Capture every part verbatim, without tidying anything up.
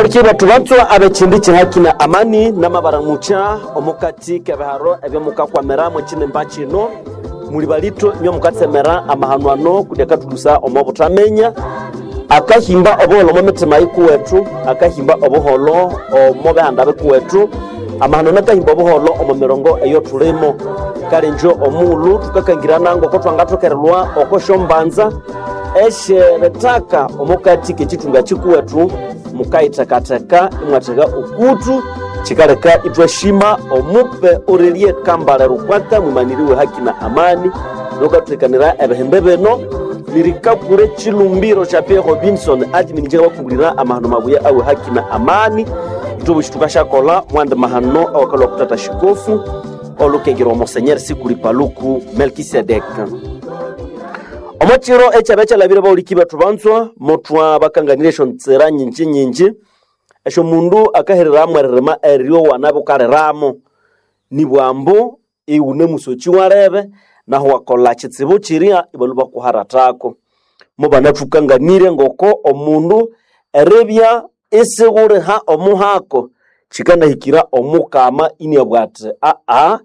Abaliki bethu batswa ab'ekindi kihaki na amani n'amabaramucha omukati k'ebiharo ebyomukakwamira mwekinimba kino muli balitho inywe mukatsemera amahano ano kundi akatulusa omo buthamenya akahimba obuholho omo mitima yikuwethu akahimba obuholho omo bihanda bikuwethu amahano nakahimba obuholho omo mirongo eyo thulimo kale njo omughulhu thukakangirana ngoko thwangathokerelwa oko syombanza esyeritaka omukati k'ekithunga kikuwethu mukayithekatheka imwatheka okutu kikaleka ithwashima omupe orelie kambale rukwaka mwimaniriwe haki na amani nokathuthekanira ebihimbi bino nirikakure chilumbiro cha Pierre Robinson admin bakugulira amahano mabuya awe haki na amani ithwe tukashakola mwandi mahano awakalwa kutata shikofu olukengera omosenyeri sikuli paluku Melkisedek omokiro ekyaba ekyalabire bawuliki bethu banzwa muthwa bakanganire esyo ntsira nyinji nyinji esyo mundu akahereramu eririma eryo wanabe ukaliramo nibwambu iwune musoki warebe naho wakola kitsibu kiria ibalwa bakuharathako mubanathukanganire ngoko omundu eribya isighuriha omuhako kikanahikira omukama iniabugha athi aa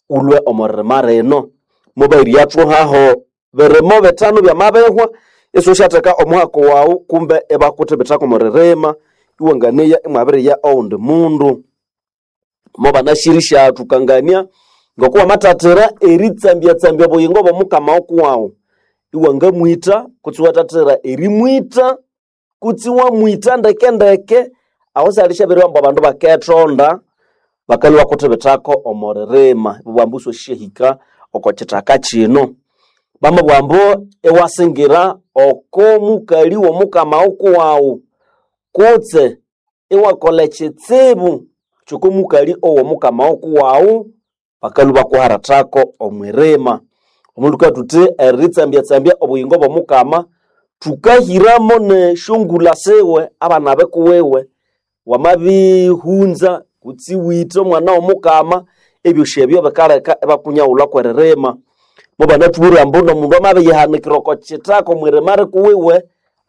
ulwe omo ririma rino mubairyathwahaho birimo bithanu byamabihwa isosyatheka omuhako wawu kumbe ibakuthibithako omo ririma iwanganeya imwabiriya owundi mundu mubanashirisya thukangania ngoko wamathathira eritsambyatsambya obuyingo bw'omukama okuwawu iwangamwitha kutse iwathathira erimwitha kutse iwamwitha ndekendeke aho syalishabiriwa ambu abandu bakethonda bakalhwa bakuthibithako omo ririma ibabugha ambu isyosyahika oko kithaka kino bamabugha ambu iwasingira oko mukali w'omukama okuwawu kutse iwakolha ekitsibu ky'okomukali ow'omukama okuwawu bakalhwa bakuharathako omwirima omundu thuka thuthi eritsambyatsambya obuyingo bw'omukama thukahiramo nesyongulha siwe abana bikuwiwe wamabihunza kutse iwitha omwana w'omukama ebyosi ebyo bikaleka ibakunyaghulha kw'eririma mubanathubwire ambu n'omundu amabiyihanikira oko kithaka omwirima rikuwiwe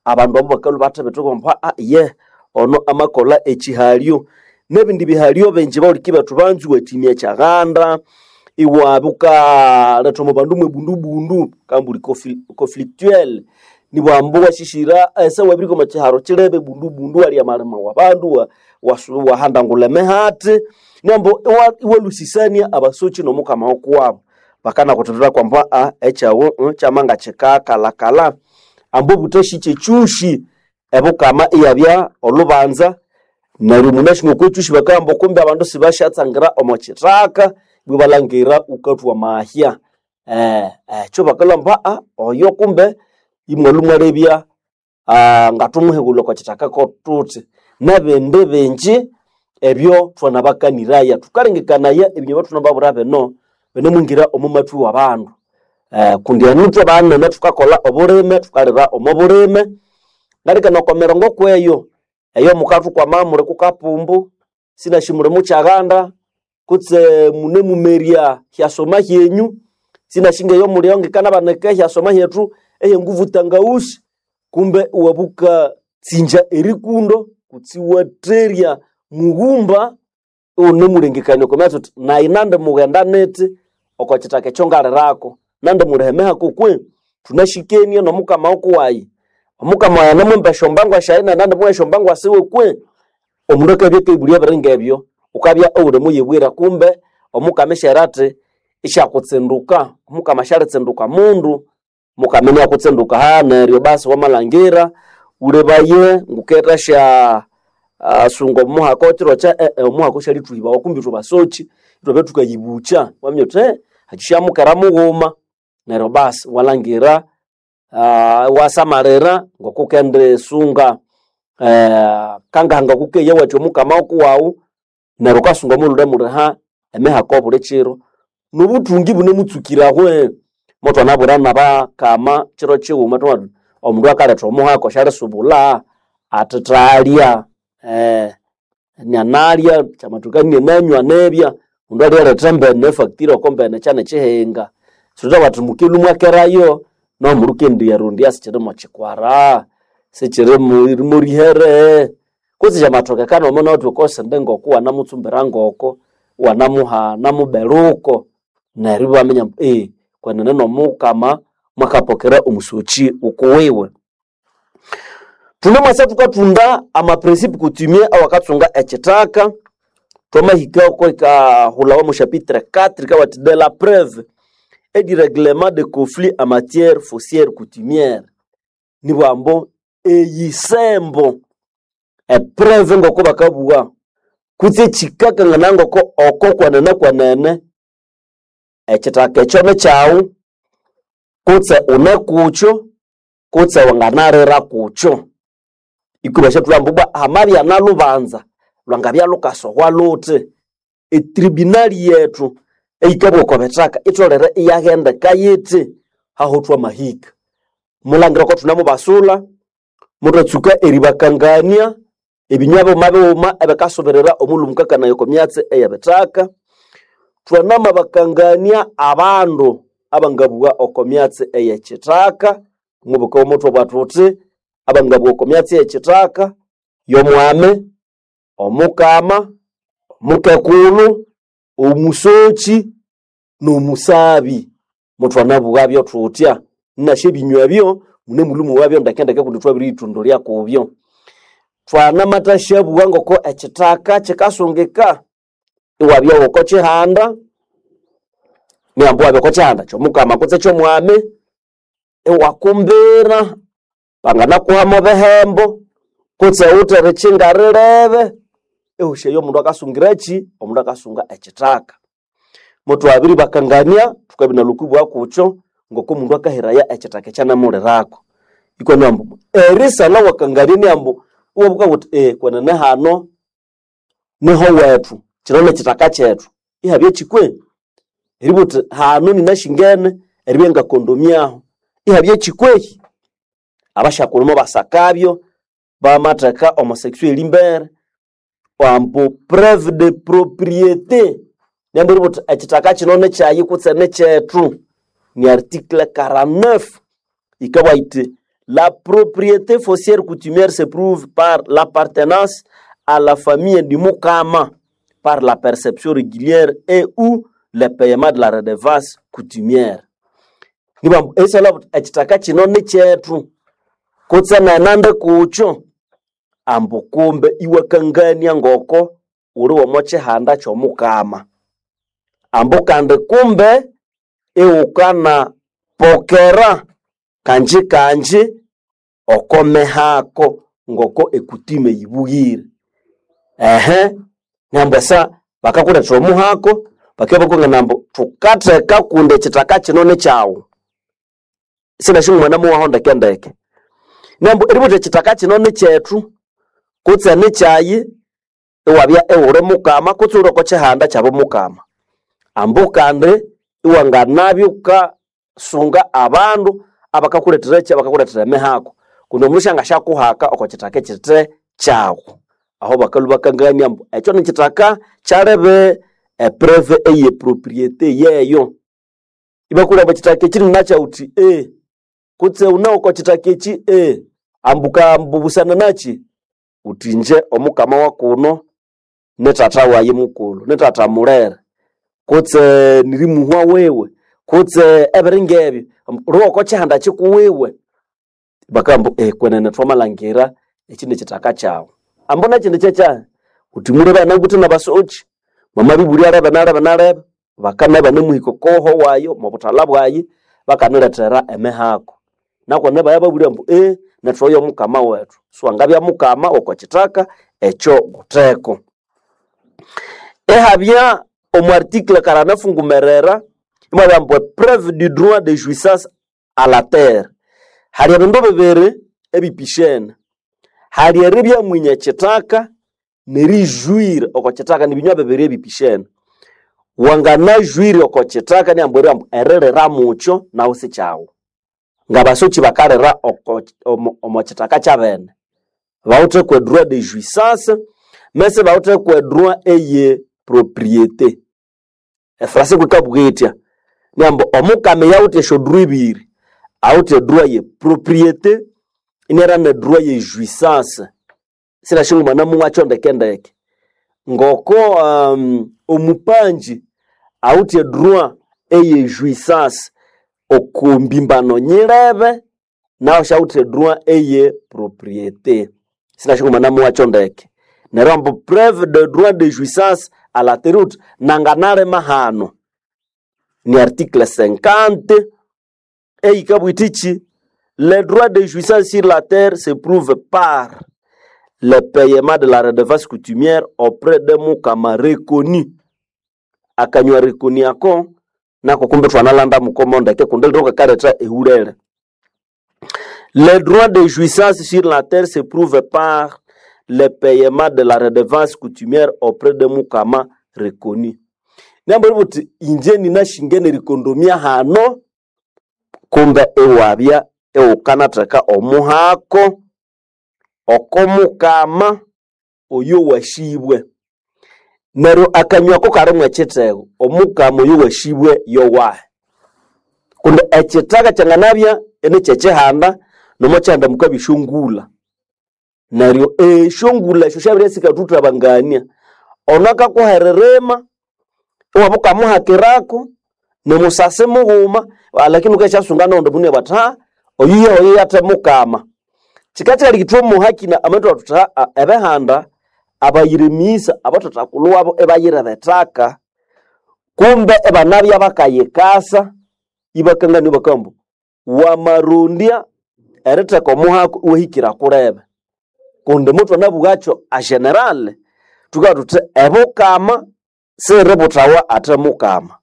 abandu abo bakalhwa bathibitha ambu aa ye ono amakolha ekihalyo n'ebindi bihalyo bingi bawuliki bethu banzi iwathimya ekyaghanda iwabya wukaletha omo bandu mwebundubundu kambuli conflictuel nibwambu iwashishira ese wabirihika omo kiharo kilebe ebundubundu iwalya amalima wabandu wahandangulha emihati nambu iwalhusisania abasoki n'omukama wokuwabo bakanakuthibitha kwambu aa ekyawu kyamanga kikakalhakalha ambu obuthasi kyekyushi ebukama iyabya olhubanza neryo munasi ngokwekyushi bakagamba kumbe abandu sibashatsangira omo kithaka ibwa ibalhangira wukathwa amahya eh, ekyo bakalhwa ambu aa oyo kumbe imwalhwa mwalebya ngathumuhighulha oko kithaka kothuthi n'ebindi bingi ebyo thwanabakaniraya thukalengekanaya ebinywa ebyathunababwira bino binemwingira omo mathwi w'abandu eh, kundi enu ithwe banene thukakolha obulime thukalira omo bulime ngalikana oko mirongo kweyo eyo mukathukwama muli kukapumbu sinashi muli mukyaghanda kutse munemumerya hyasoma hyenyu sinashi ngeyo mulio ngikanabanika ehyasoma hyethu ehenguvu tangausi kumbe iwabuka tsinja erikundo kutse iwatherya mughumba iwunemulengekania oko myatsi wuthi nayi nandi mughenda nithi oko kithaka ekyo ngalirako nandi mulihemehako kwe thunashikenie n'omukama wokuwayi omukama wayi anamwimba esyombangwa syayi nayi nandi esyombangwa siwe kwe omundu akabya akayibulya ebiri ngebyo wukabya iwunemuyibwira kumbe omukama isyera athi isyakutsinduka omukama syalitsinduka mundu mukama iniakutsinduka ha neryo basi wamalhangira wulebaye nguketha sya uh, sunga omuhaka kiro kya eh, eh, omuhaka syalithuhibawa kumbi ithwe basoki ithwabya thukayibukya waminya wuthi eh, hakisyamukera mughuma neryo basi walhangira uh, iwasamalira ngokukendisunga eh, kangahanga kukeya wathi omukama wokuwawu neryo wukasunga omulhume muliha emihaka obuli kiro nobuthungi bunemutsukirahwe motwanabwira nabakama kiro kighuma thwamabugha thuthi omundu akaletha omuhaka syalisubulha athithalya eh, nyanalya kyamathoka inananywa nibya mundu alyaletha embene efactory oko mbene kyane kihinga sithutabugha thuthi mukelu mwakerayo nomundu kendiyarondya sikyiri mo kikwara sikyiri mo rihere Kutse kyamathokekana omo nawuthi wukosende ngoko wanamutsumbira ngoko, wanamuha namuberuko, neryo ibaminya ambu ee kwenene nomukama mwakapokera omusoki wukuwiwe. Thunemwasa thukathunda ama principe coutumier awakatsunga ekithaka, twamahika oko ikahulhawa omo chapitre quatre yikabugha de la preuve et du règlement de conflit en matière foncière coutumière. Nibugha ambu eyisembo epreuve ngoko bakabugha kutse ekikakanganaya ngoko oko kwenene kwenene ekithaka ekyo nikyaghu kutse une kukyo kutse wanganalira kukyo. Ikubasyathulha ambu ibwa hamabya nalubanza lwangabya lukasohwa luthi, etribunal yethu eyikabugha oko bithaka itholere iyaghendeka yithi aho thwamahika. Mulangira oko thunemubasula, muthwatsuka eribakangania ebinywa bighuma bighuma ebikasubirira omulhu mukakanaya oko myatsi eyebithaka. Thwanamabakangania abandu abangabugha oko myatsi eyekithaka, mubuka muthwabugha thuthi abangabugha oko myatsi eyekithaka yomwami, omukama, omukekulhu, omusoki n'omusabi. Muthwanabughabyo thuthya inasya ebinywa ebyo munemulhwa mwowabyo ndekendeke kundi thwabiriyithondolya kubyo. Thwanamathashabugha ngoko ekithaka kikasungika iwabya woko kihanda, nihambu iwabya oko kihanda kyomukama kutse kyomwami, iwakumbira banganakuhamu bihembo kutse wuthe erikinga rirebe, ehosi eyo omundu akasungiraki? Omundu akasunga ekithaka. Muthwabiribakangania thukabya nalhukibugha kukyo ngoko omundu akahiraya ekithaka ekyanamulirako. Ikwa ambu erisalha wakangania ni ambu iwabuka wuthi ee kwenene hano niho wethu, kino nikithaka kyethu, ihabya kikwe? Eribugha wuthi hano ninashingene eribya ngakondomyaho, ihabya kikwehi? Abasyakulhu mubasakabyo bamatheka omo section erimbere ambu preuve de propriété niambu eribugha wuthi ekithaka kino nikyayi kutse nikyethu ni article quarante-neuf yikabugha yithi la propriété foncière coutumière se prouve par l'appartenance à la famille du Mukama par la perception régulière et ou le paiement de la redevance coutumière. Nibambu erisalha buthi ekithaka kino nikyethu kutse nenandi kukyo ambu kumbe iwakangania ngoko wuli womo kihanda kyomukama. Ambu kandi kumbe iwukana pokera kanji kanji oko mihako ngoko ekutime yibughire. Ehe nambu esa bakakulethera omuhako bakibya bakungana ambu thukatheka kundi ekithaka kino nikyaghu. Sinasi omwana muwaho ndekendeke. Nambu eribugha wuthi ekithaka kino nikyethu kutse nikyayi iwabya iwuli mukama kutse iwuli oko kihanda kyabomukama. Ambu kandi iwanganabya wukasunga abandu abakakulethera abakakulethera emihako kundi omundu syangasyakuhaka oko kithaka ekithe kyaghu. Aho bakalhwa bakangania ambu ekyo nikithaka kyalebe epreuve eye propriété yeyo. Ibakulha ambu ekithaka eki ninakyawu wuthi ee kutse wune oko kithaka eki ee ambu ambu busana nakyi wuthi ingye omukama wakuno ni thatha wayi mukulhu, ni thatha mulere kutse nirimuhwa wiwe kutse ebiri ngebyo wuli woko kihanda kikuwiwe. Bakabugha ambu ee kwenene thwamalhangira eki nikithaka kyaghu. Ambu nekyindi kyekyahi wuthi mulebe anawithe nabasoki mwamabibulya lebe nalebe nalebe bakana ibanemuhika okoho wayi omobuthalha bwayi bakanilethera emihako. Nakwenene ibabya ambu ee nethu oyo mukama wethu siwangabya mukama woko kithaka ekyo wutheko. Ihabya omu article quarante-neuf ngumerera imwabya ambu epreuve du droit de jouissance à la terre. Hali ebindu bibiri ebipishene, hali eribya mwinya ekithaka nerijuire oko kithaka nibinywa bibiri ebipishene. Wanganajuire oko kithaka niambu ambu eririra mukyo nahu sikyaghu. Ngabasoki bakalira oko omo omo kithaka kyabene bawithe kwe droit de jouissance mesi bawithe kwe droit eye propriété. Efrase kwikabugha yithya niambu omukama eyawithe esyo droit ibiri, awithe edroit ye propriété inera ne droit ye jouissance. Sinashingumana mumwacho ndekendeke ngoko um, omupanji awithe droit eye jouissance okumbimbano nyilebe nawo syawithe droit eye propriété. Sinashingumana muwacho ndeke neryo ambu preuve de droit de jouissance à la terre uthi nanganalima hano ni article cinquante eyikabwitichi le droit de jouissance sur la terre se prouve par le paiement de la redevance coutumière auprès de mukama reconnu. Akanywa reconnu ako nako kumbe twanalanda mukomo ndeke kundi liro kakaletha ehulele. Le droit de jouissance sur la terre se prouve par le paiement de la redevance coutumière auprès de mukama reconnu. Nambori buti inje ninashingene rikondomia hano kumbe ewabya ewukanatheka omuhako okomukama oyo washibwe. Neryo akanywako kalimu ekithego omukama oyo washibwe yowahe kundi ekithaka kyanganabya inikyekihanda nomokyihanda mukabya esyongulha. Neryo esyongulha esyo syabiribya sikatuthabangania ono akakuha eririma iwabya wukamuhakirako nimusasi mughuma lakini wukasyasunga noghundi mundu inabugha athi ha oyu yoyo yathe mukama. Kikakyaleka ithwamuhakina amathu thuthi haa ebihanda abayirimisa abathathakulhu wabo ibayira ethaka kumbe ibanabya bakayikasa ibakangania ibakabugha ambu wamarondya eritheka omuhako iwahikira kulebe kundi muthwanabugakyo a general thukabugha thuthi ebukama siributhawa athe mukama.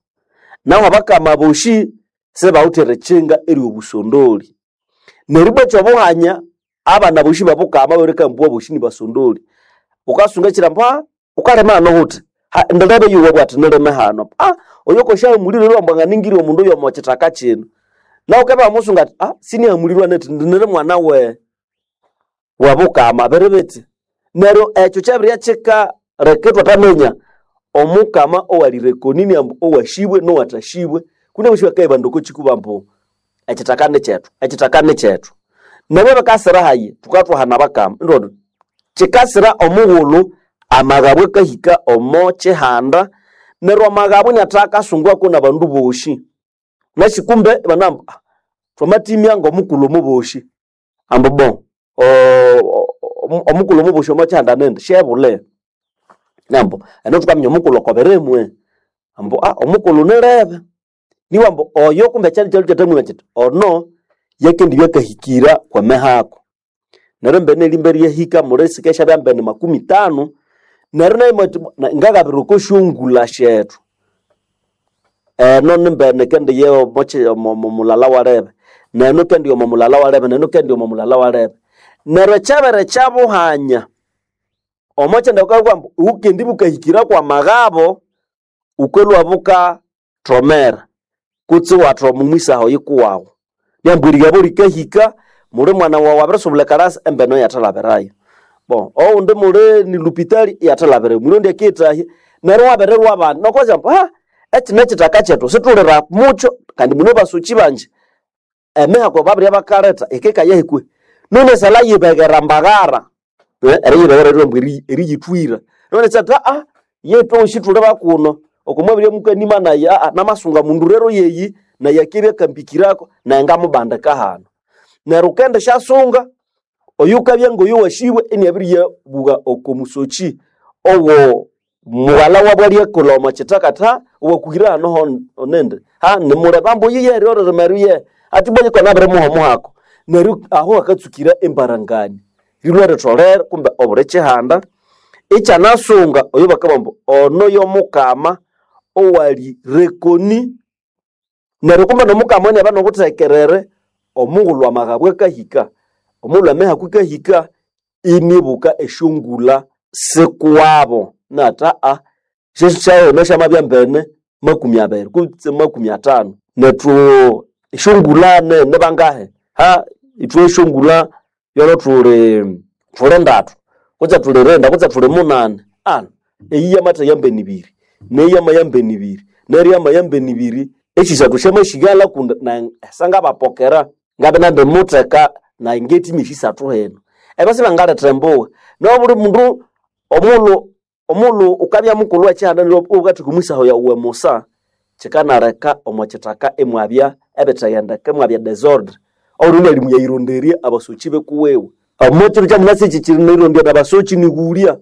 Nahu abakama boshi sibawithe erikyinga eryobusondoli. Neryo ibwa ekyobuhanya abana boshi babukama babirikamba boshi nibasondoli. Wukasunga ekyiro ambu ha wukalima hano wuthi ndilebe yuwa bwati nilime hano ah oyo kosyahamulirwe ambu anganingirye omundu oyo kyithaka kino. Nahu wukabya wamusunga athi ah sinihamulirwe nethi niri mwana we wabukama biri bithi. Neryo ekyo kyabirya kyikaleka ithwathaminya omukama owali reconnu ambu owashibwe nowathashibwe kundi abosi bakayibanda okwa ambu ekyithaka nikyethu, ekyithaka nikyethu. Nabo bakasira hayi thukathwahana abakama indi kyikasira omughulhu amaghabu akahika omo kyihanda neryo amaghabu iniatha akasungwako nabandu boshi. Nasi kumbe ibanabugha ambu thwamatimya ngomukulhu omuboshi ambu bon omukulhu omuboshi omo kyihanda nindi syebule. Nambu eno thukaminya omukulhu oko birimwe ambu omukulhu nilebe niwa ambu oyo kumbe ekyalya kyalwe kyathamwiba kyithi ono yakendibya akahikira kwemihako. Neryo embene erimba eryahika muli sikasyabya mbene makumi tano neryo nayo imwathi ngagabira oko syongulha syethu eno nimbene kendi omo mulala walebe neno kendi omo mulala walebe neno kendi omo mulala walebe. Neryo ekyabere kyabuhanya omo kyanda wukabugha ambu wukendibya wukahikira kwamaghabo wukalhwa bukathomera kutse iwathoma omwisaha oyikuwawu. Lyambu erighabo likahika muli mwana wawu abirisubula ekalasi embene iyathalabirayo. Bon owundi muli ni lupitali iyathalabirayo muli ondi akiyithahya neryo iwabirirwa abandi nokwazya ambu ha ekyi nekyithaka kyethu sithulira mukyo kandi mune basokyi bangi emihako babirya bakaletha yikikayahi none esalha yibeghera mbaghara eriyibeghera ryambu eriyithwira none syathi aa yethu thuli bakuno oko mwabirya mukanima nayi aa namasunga mundu rero yeyi nayi akibya akambikirako nayi ngamubandika hano. Neryo wukendisyasunga oyukabya ngoyo washibwe iniabiriyabugha oko musokyi owo mughalha wabu alyakolha omo kyithaka athi ha owakuhire hano nindi ha nimulebe ambu oyu yeri oririma eryo athi ibwa nyiko nabirimuha omuhako. Neryo aho hakatsukira embarangania rilhwa ritholere kumbe obuli kyihanda ikyanasunga oyo bakabugha ambu ono yomukama owali reconnu. Neryo kumbe nomukama iniabya nobuthekerere omughulhu amaghabu akahika omughulhu emihako yikahika inibuka esyongulha sikuwabo inathi aa syesyaghuma syamabya mbene makumi abiri kutse makumi athanu nethu esyongulha nibangahi ha ithwe esyongulha yolo thuli thuli ndathu kutse thuli rinda kutse thuli munani anu eyi yamatha yambene ibiri neyi yamayambene ibiri neryo yamayambene ibiri esyisathu syamasighalha kundi nayi sangabapokera ngabya inandimutheka nayi ngethimya esyisathu hino. Ebyo sibangaletha embuga. Nobuli mundu omulhu omulhu ukabya mukulhu wekihanda neryo ukatheka omwisaho yawu musa kikanaleka omo kithaka imwabya ebitheghendeka imwabya desordre. Obundi ali muyayironderya abasoki bekuwewe. Omo kiro kyamunasi eki kirinayirondya nabasoki nighulya.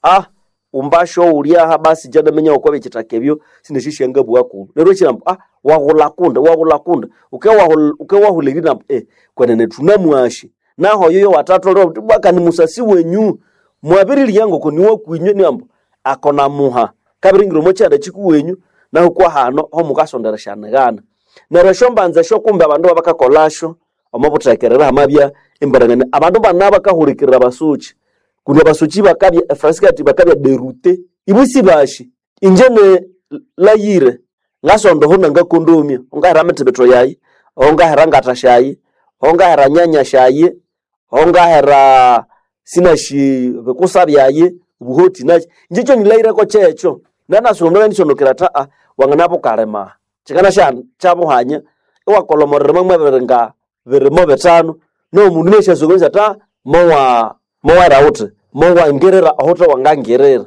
Ah umbasho ulyaha basi janaminya okwabya ekithaka ebyo sinasyasyangabugha kubi. Neryo ekyinambu ah waghulha kundi waghulha kundi ukewahul ukewahulha erinambu eh kwenene thunamwashi. Naho oyo wathatholere wuthi bwa kandi musasi wenyu mwabirirya ngoko niwakwinywe niambu ako namuha kabiringira omo kyihanda kikuwenyu nahu kwahano homukasonderesyanigana. Neryo esyombanza esyo kumbe abandu babakakolasyo omo buthekerera hamabya emberengania. Abandu bana bakahulikirira abasoki kundi abasoki bakabya efransi ati bakabya derute ibo sibashi. Inje ne layire ngasonda oho nangakondomya ongahera mithibitho yayi, ongahera ngata syayi, ongahera nyanya syayi, ongahera sinashi bikusa byayi, obuhoti naki. Inje kyonyilayireko kyekyo. Nanasi omundu anganisonokera athi aa wanganabukalima kikanasya kyabuhanya iwakolha omwirima mwebiri nga birimo bithanu nomundu inasyasokomesya athi aa mowa mowera wuthi mowangirira ohuthe wangangirira.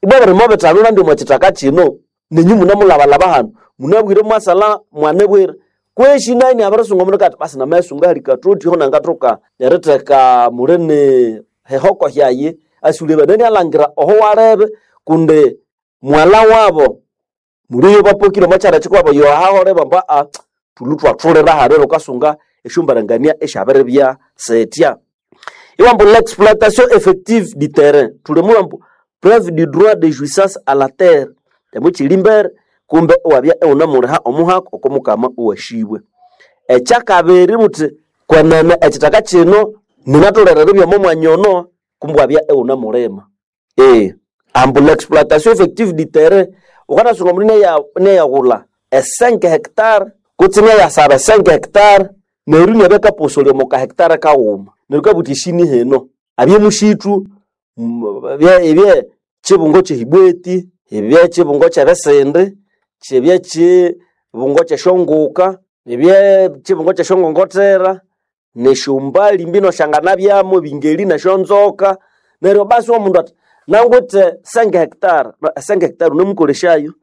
Ibwa birimo bithanu nandi omo kithaka kino nenyu munamulhabalhaba hano munabwire mwasalha mwanibwira. Kwesi nayo inabirisunga omundu akati basi namayisunga ahali kathothi aho nangathoka eritheka mulini hehoko hyayi asulebe nani alhangira oho walebe kundi mwalha wabo muliyo bapokire omo kyanda kikuwabo yohahole bambu aa thulhu thwathulira hano neryo wukasunga esyombarangania esyabiribya sitya. Iwambu l'exploitation effective du terrain thuli ambu preuve du droit de jouissance à la terre emukili mbere kumbe iwabya iwunemuliha omuhako oko mukama owashibwe. Ekyakabiri buthi kwenene ekithaka kino ninatholere eribya omo mwanya ono kumbe iwabya iwunemulima. Ee ambu l'exploitation effective du terrain wukanasunga omundu inaya inayaghulha e cinq hectares kutse inayasaba e cinq hectares neryo inabya akaposolya omo ka hectare kaghuma. Neryo wukabugha wuthi eshini hino abye mushithu ibye kibungo kyehibweti, ibye kibungo kyebisindi, kibye kibungo kyesyonguka, ibye kibungo kyesyongongothera, nesyombali mbino syanganabyamu ebingeri nesyonzoka. Neryo basi omundu athi nangwithe cinq hectares, cinq hectares wunemukolesyayo.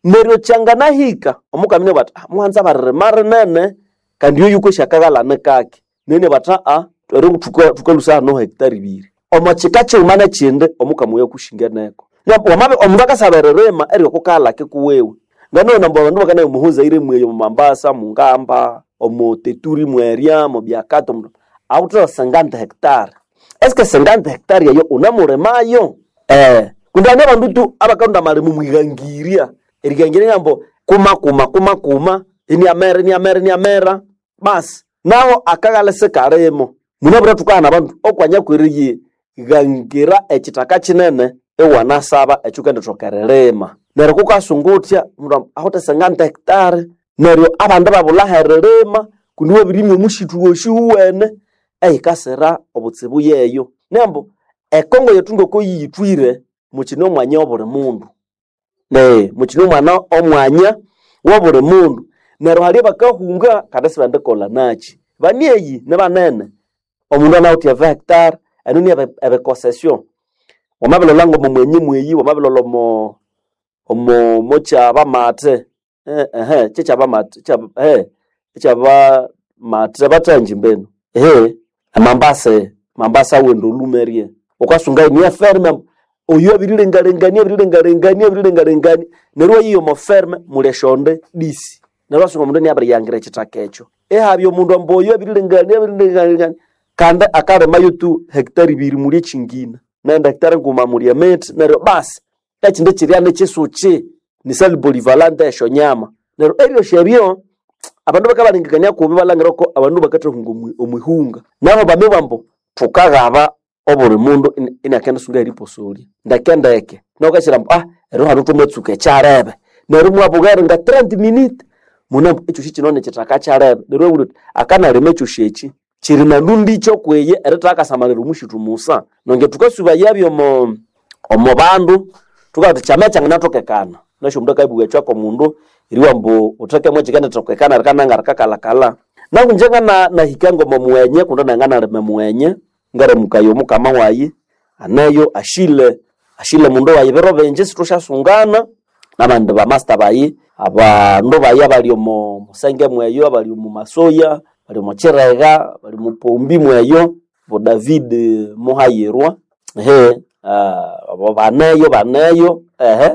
Neryo kyanganahika omukama inabugha athi muhanza baririma rinene kandi oyu kwesi akaghalha kaki. Neryo inabugha athi aa eri thukalhusa hano hectare ibiri. Omo kika kighuma nekyindi omukama oyo akushinganeko. Wamabya omundu akasaba eririma eryoko kaghalha kikuwiwe. Nganabugha ambu abandu bakanaya omo Zaire mweya omo Mombasa, Mungamba, omo Teturi mwerya, omo Biakato awuthe cinquante hectares. Eske cinquante hectares eyo wunemulimayo? Eh kundi hane abandu tu abakalhonda amalima omwihangirya. Erihangirya ryambu kumakuma kumakuma iniamera iniamera iniamera basi naho akaghalha isikalimo. Munabwire thukahana abandu okwanya kweriyighangira ekithaka kinene iwanasaba ekyawukendithoka eririma. Neryo kukasunga wuthya omundu awithe cinquante hectares neryo abandi ibabulha aheririma kundi iwabirimya omushithu wosi wuwene eyikasira obutsibu yeyo. Nambu ekongo yethu ngoko yiyithwire mukine omwanya wobuli mundu. Nee mukine omwana omwanya wobuli mundu. Neryo hali abakahunga kandi isibendikolha naki. Banieyi nibanene omundu anawithe e vingt hectares enu ni ebikosesyo. Wamabilholha ngomo mwenyi mweyi wamabilholha omo omo mokyabamate ehe kyekyabamate ekyabamate bathanji mbenu ehe Mombasa Mombasa awende olumerye. Wukasunga iniye ferme oyo abirilengalengania abirilengalengania abirilengalengania neryo iwayiya omo ferme muli esyonde disi. Neryo iwasunga omundu inabiriyangira ekithaka ekyo. Ihabya omundu ambu oyo abirilengania abirilengalengania kandi akalimayo tu hectare ibiri muli ekyingina nende hectare nguma muli emithi neryo basi ekyindi kyirya nikyisukyi ni salle polyvalente esyonyama. Neryo ebyosi ebyo abandu bakabalengekania kubi ibalhangira ko abandu bakathahunga omwihunga. Naho bamibugha ambu thukaghaba obuli mundu inakendisunga eriposolya ndekendeke. Neryo wukasira ambu ah ero hano thwamatsuka ekyalebe. Neryo imwabugha eringa trente minutes munabugha ekyosi kino nikithaka kyalebe. Neryo iwabulha wuthi akanalima ekyosi ekyi kyiri nalundikyo kwiye erithakasamalira omushithu musa. Nongye thukasubayabyo omo omo bandu thukabugha thuthi kyama kyanganatokekana. Wunasi omundu akabugha ekyo kwomundu eribugha ambu wuthekemu ekyikendithokekana rikananga rikakalhakalha. Naku ingye nganahika ngomo mughenye kundi nayi nganalima emughenye. Ngaramukaya omukama wayi aneyo ashile ashile mundu wayi biro bingi situsyasungana nabandi bamasta bayi abandu bayi abali omo musenge mweyo abali omu masoya bali omo kirega bali omu pombi mweyo bo David Muhayirwa ehe ah, abo baneyo baneyo ehe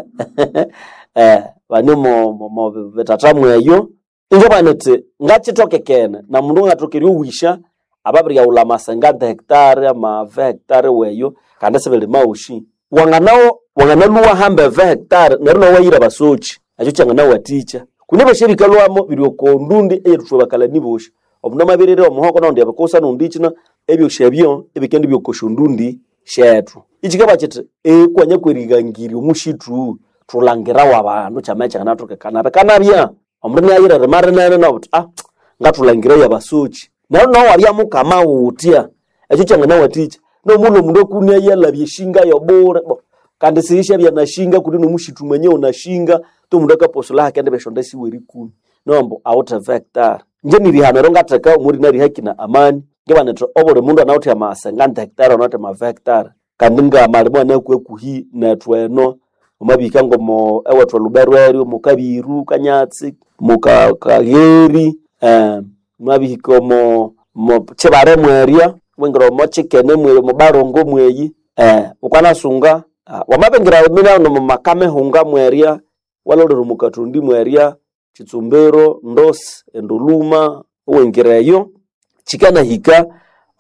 eh, bane mo, mo, mo bitata mweyo injo baniti ngakithokekene na mundu ngathoka eryowisha ababiryaghulha amasenga hectare amave hectare weyo kandi sibiri mawushi wanganawo wanganaluwa hamba eve hectare neryo nawayira abasoki ekyo kyanganawathikya kune byosi ebikalhwamo biri oko ndundi eyerithwa bakalani bosi omundu amabirira omuhoko naundi abikusa naundi ikina ebyosi ebyo ebikendibya ndundi syethu ikikaba kithi ekwanya kwerigangirya omushithu thulangirawo abandu kyama kyanganathokekana bikanabya omundu inayira erima rinene nobuthi ah ngathulangirayo abasoki neryo nawe wabya mukama wutya ekyo kyanganawathikya nomundu omundu akunia yalabya eshinga yobule bo kandi siyisyabya nashinga kundi nomushithu mwenyewe nashinga tomundu akaposola hakendibya esyonda siwe erikumi nombo awuthe hectare inje nirihano eryo ngatheka omuli narihaki na amani ngibanethe obuli mundu anawithe amasenga hectare anawithe ama hectare kandi ngamalimo anakuhakuhi nethu eno wamabihika ngomo ewethu elubero eryo mukabiru kanyatsi mukagheri eh, mwabihika omo mo kibare mwerya wingira omo kikene mweyi omo barongo mweyi eh, wukanasunga ah, wamabingira minano mumakamehunga mwerya walolera omukathundi mwerya kitsumbiro ndosi enduluma owingira eyo kikanahika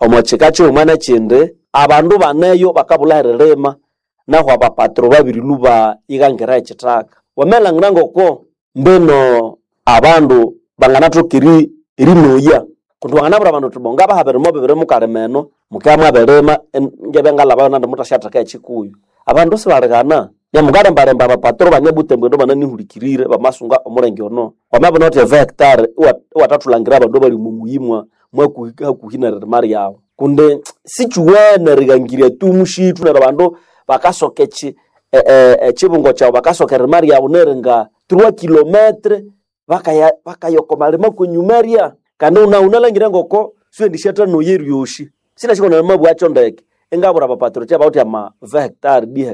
omo kika kighuma nekindi abandu baneyo bakabulha eririma nahu abapatro babirilhuba ighangira ekithaka wamalhangira ngoko mbino abandu banganathoka eri erinoya kundi wanganabwira abandu uthi bo ngabaha birimo bibiri mukalima eno mukabya mwabirima ngebya ngalhabayo nandi muthasyatheka ekikuyu abandu sibalighana nyamukalembalemba abapatro bane Butembo eno bananihulikirire bamasunga omulenge ono wamabana uthi eve hectare iwathathulhangira abandu abali omo muyi mwa mwakuhi hakuhi neririma ryawu kundi sikyuwene erighangirya tu mushithu neryo abandu bakasoka eki ekibungo kyawu bakasoka eririma ryawu neringa trois kilometre bakaya bakaya okomalima kwenyuma rya kandi wuna wunalhangira ngoko siwendisyathanoya eryosi sinasiko namabwakyo ndeke ingabwira abapatro kya bawithe ama ve hectare di